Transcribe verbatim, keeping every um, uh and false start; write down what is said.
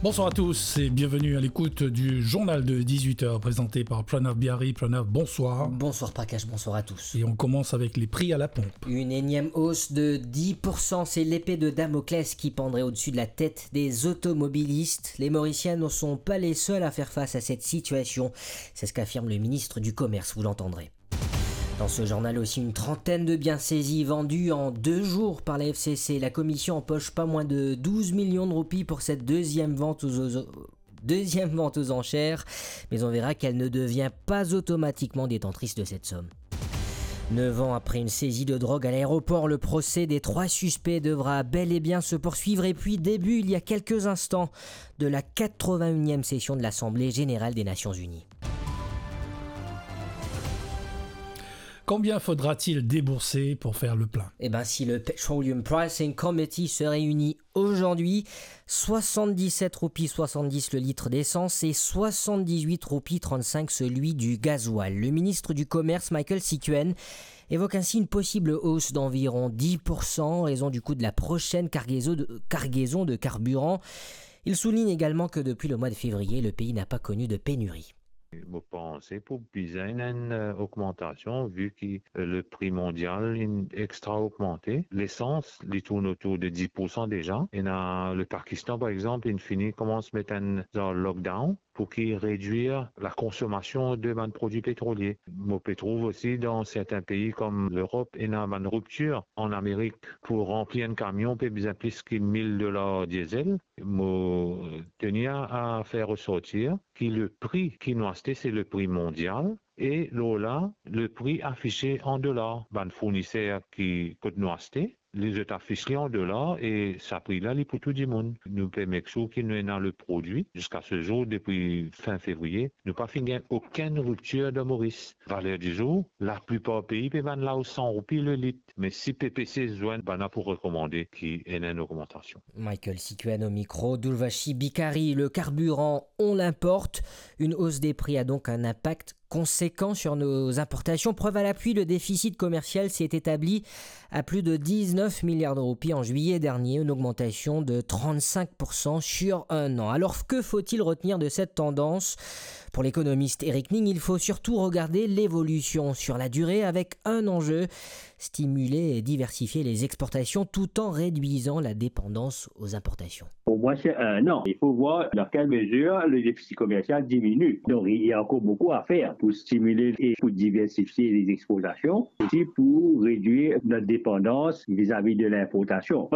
Bonsoir à tous et bienvenue à l'écoute du journal de dix-huit heures présenté par Pranav Biari. Pranav, bonsoir. Bonsoir Prakash, bonsoir à tous. Et on commence avec les prix à la pompe. Une énième hausse de dix pour cent, c'est l'épée de Damoclès qui pendrait au-dessus de la tête des automobilistes. Les Mauriciens ne sont pas les seuls à faire face à cette situation. C'est ce qu'affirme le ministre du Commerce, vous l'entendrez. Dans ce journal aussi, une trentaine de biens saisis vendus en deux jours par la F C C. La commission empoche pas moins de douze millions de roupies pour cette deuxième vente aux, aux- deuxième vente aux enchères, mais on verra qu'elle ne devient pas automatiquement détentrice de cette somme. Neuf ans après une saisie de drogue à l'aéroport, le procès des trois suspects devra bel et bien se poursuivre. Et puis, début, il y a quelques instants, de la quatre-vingt-unième session de l'Assemblée générale des Nations unies. Combien faudra-t-il débourser pour faire le plein ? Eh ben, si le Petroleum Pricing Committee se réunit aujourd'hui, soixante-dix-sept roupies soixante-dix le litre d'essence et soixante-dix-huit roupies trente-cinq celui du gasoil. Le ministre du Commerce, Michael Sikuen, évoque ainsi une possible hausse d'environ dix pour cent en raison du coût de la prochaine cargaison de, cargaison de carburant. Il souligne également que depuis le mois de février, le pays n'a pas connu de pénurie. Mo panse pou bizin ena enn, euh, ogmantasion, vi ki, euh, le pri mondial inn extra ogmante. Lesans, li tourn otour de dix pour cent deza. Ena le Pakistan, par exanp, inn fini koumans met enn zanr lockdown pou ki redwir lakonsomasion de bann prodwi petrolie. Mo pe trouv osi dan sertin pei kom Lerop, ena bann riptir. An Amerik, pou ranpli enn kamion, pe bizin plis ki mil dolar diesel. Mo tenir a fer resortir ki le pri ki nou aste, se le pri mondial, e lor la, le pri afise an dolar. Bann fourniser ki kot nou aste, li zot afis li an dolar, e sa pri la, li pou tou dimoun. Nou pe make sure ki nou ena le prodwi. Ziska se zour, depi fin fevriye, nou pa finn gagn okenn riptir dan Moris. Valer dizour, laplipar pei pe vann la o san roupi le lit. Me si P P C zwenn, bann la pou rekomande ki ena enn ogmantasion. Michael Sikuen au micro, Durvashi Bikari. Le carburant, on l'importe. Une hausse des prix a donc un impact conséquent sur nos importations. Preuve à l'appui, le déficit commercial s'est établi à plus de dix-neuf milliards de roupies en juillet dernier, une augmentation de trente-cinq pour cent sur un an. Alors, que faut-il retenir de cette tendance ? Pour l'économiste Eric Ning, il faut surtout regarder l'évolution sur la durée avec un enjeu, stimuler et diversifier les exportations tout en réduisant la dépendance aux importations. Pour moi, c'est un an. Il faut voir dans quelle mesure le déficit commercial diminue. Donc, il y a encore beaucoup à faire pour stimuler et pour diversifier les exportations, aussi pour réduire notre dépendance vis-à-vis de l'importation.